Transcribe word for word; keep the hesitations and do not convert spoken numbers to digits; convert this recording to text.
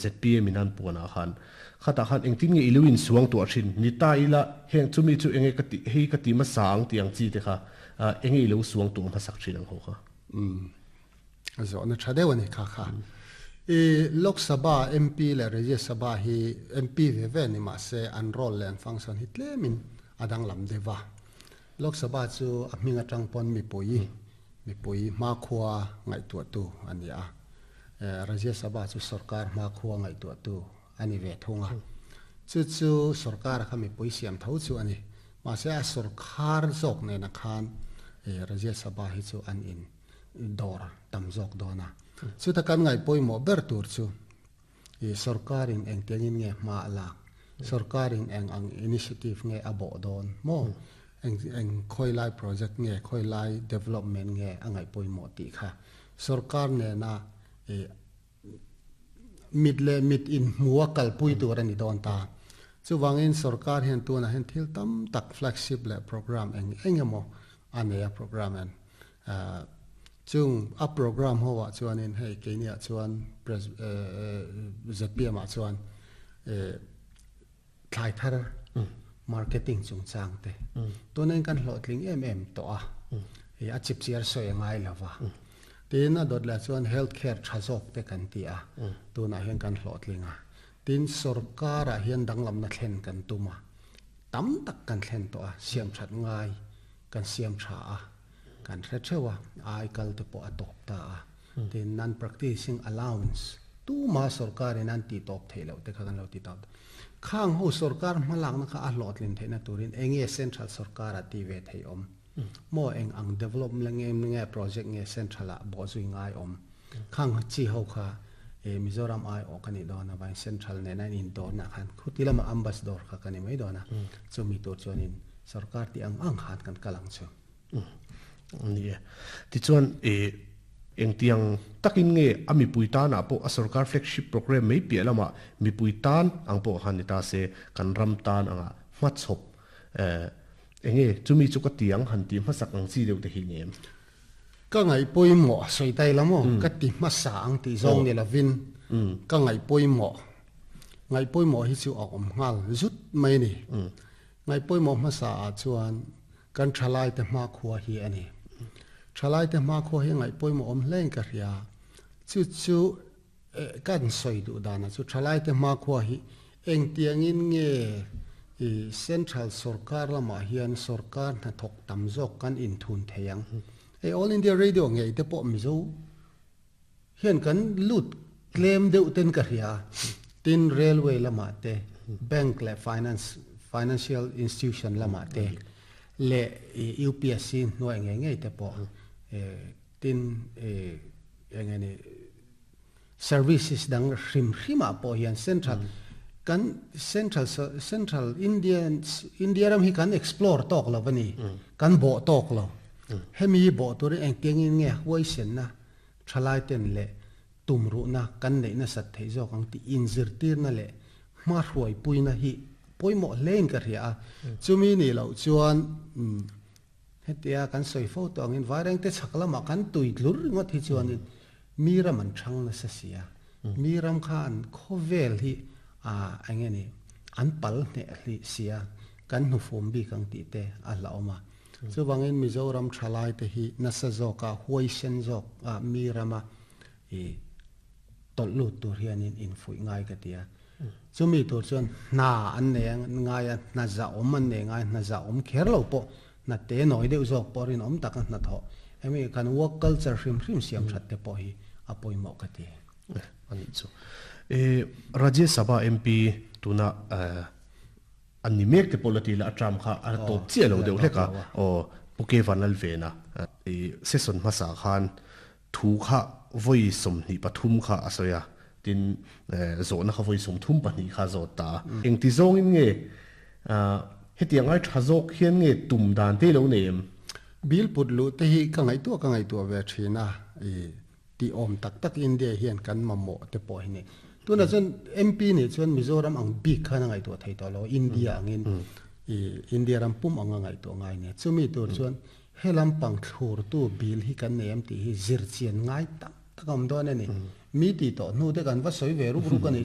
Z P M in an puanah khan khatah khan engtin nge i lo insuang tuah thin ni ta ila heng chumi chu enge ka ti hei ka ti hmasa ang tih ang chi te kha enge i lo suang tuah hmasak thin ang ho kha. Umm a zawhna tha deuh a ni kha kha. I Lok Sabha M P leh Rajya Sabha hi M P ve ve ni mahse an role leh an function hi tlemin a danglam deuh a. Lok Sabha chu a hming atang pawn mipui mipui hmakhua ngaihtuahtu a ni a. Rajya Sabha chu sorkar hmakhua ngaihtuahtu a ni ve thung a. Chu chu sorkar kha mipui siam tho chu a ni. Mahse a sorkar zawk nena khan Rajya Sabha hi chu an in dawr tam zawk dawn a. Chuta kan ngaih pawimawh ber tur chu sorkarin engtiangin nge hma a lak, sorkarin eng ang initiative nge a bawh dawn maw, eng eng khawi lai project nge, khawi lai development nge a ngaih pawimawh tih kha sorkar nena mit leh mit inhmua kalpui tur a ni dawn ta. Chuvangin sorkar hian tunah hian thil tam tak flagship leh program eng eng emaw a nei a program en chung a program ho ah chuanin hei keiniah chuan Z P M ah chuan thlai thar marketing chungchang te tunin kan hlawhtling em em tawh a, a chipchiar sawi a ngai lova. Tin a dawt leh chuan health care tha zawk te kan ti a, tunah hian kan hlawhtling a. Tin sorkarah hian danglamna thlen kan tum a, tam tak kan thlen tawh a, siam that ngai kan siam tha a, kan hre theuh a, ai kal te pawh a tawp ta a. Tin non practicing allowance tuma sorkarin an tih tawp theih loh te kha kan lo ti tawp. Khang ho sorkar hmalakna kha a hlawhtlin theihna turin enge central sorkar a ti ve theih awm maw, eng ang development nge nge project nge central ah bawhzui ngai awm, khang chi ho kha Mizoram ai awh ka nih dawn avangin central nena in indawrna khan khuti lama ambassador kha ka ni mai dawn a, chumi tur chuanin sorkar tih ang ang khan kan kal ang chu. Ni e. Tichuan engtiang takin nge a mipui tanah pawh a sorkar flagship program mai piah lamah mipui tan ang pawh khan ni ta se kan ram tan anga hmachhawp enge chumi chu ka tiang han tih hmasak ang chi deuh te hi ni em? Ka ngaih pawimawh sawi tai la maw ka ti hmasa ang tih zawng ni lovin ka ngaih pawimawh ngaih pawimawh hi chu a awm nghal zut mai a ni. Ngaih pawimawh hmasa ah chuan kan thalai te hmakhua hi a ni. Thalai te hmakhua hi ngaih pawimawh awm hlein ka hria. Chu chu kan sawi duh danah chu thalai te hmakhua hi engtiangin nge i central sorkar lamah hian sorkar hnathawk tam zawk kan inthun thei ang. Hei All India Radio ngei te pawh Mizo hian kan lut tlem deuh ten ka hria. Tin railway lamah te, bank leh finance financial institution lamah te leh U P S C hnuai ngei ngei te pawh tin eng nge ni services dang hrim hrimah pawh hian central kan central central Indian India ram hi kan explore tawk lo a ni, kan bawh tawk lo. Hemi bawh turin engtiangin nge huaisenna thalai ten leh tumruhna kan neihna sat theih zawk ang tih inzirtirna leh hma hruaipuina hi pawimawh hlein ka hria a. Chumi nih loh chuan hetia kan sawi fo tawh angin vaireng te chhak lamah kan tui tlur ringawt hi chuanin mi ram an thang nasa si a, mi ram kha an khawvel hi a eng nge ni an pal hneh hlih si a, kan hnufum bik ang tih te a hlauhawm a. Chuvangin Mizoram thalai te hi nasa zawka huaisen zawk a mi rama i tawlh lut tur hianin infuih ngai ka ti a. Chumi tur chuan hna an nei ngai a, hna zahawm an nei ngai a, hna zahawm kher lo pawh hna te nawi deuh zawk pawh rinawm taka hna thawh hemi kan work culture hrim hrim siam that te pawh hi a pawimawh ka ti. Ani chu e Rajya Sabha M P tuna an ni mek te pawh la ti la a term kha a tawp chiah lo deuh hlek a aw Pu Vanlalvena i session hmasa khan thu kha voi sawmhnih pathum kha a sawi a, tin zawhna kha voi sawmthum pahnih kha zawt ta engti zawngin nge hetiang ai tha zawk hian nge tum dan te lo nei em? Bill put lu te hi ka ngaihtuah ka ngaihtuah ve thin a, i ti awm tak tak India hian kan mamawh te pawh hi ni. Tuna chuan M P ni chuan Mizoram ang bik khan a ngaihtuah thei tawh lo, India angin i India ram pum anga ngaihtuah ngai ni. Chumi tur chuan helam pang thlur tu bill hi kan nei am tih hi zir chian ngai tak tak awm dawn a ni. Mi ti to nu te kan va soi ve ruk ruk ani.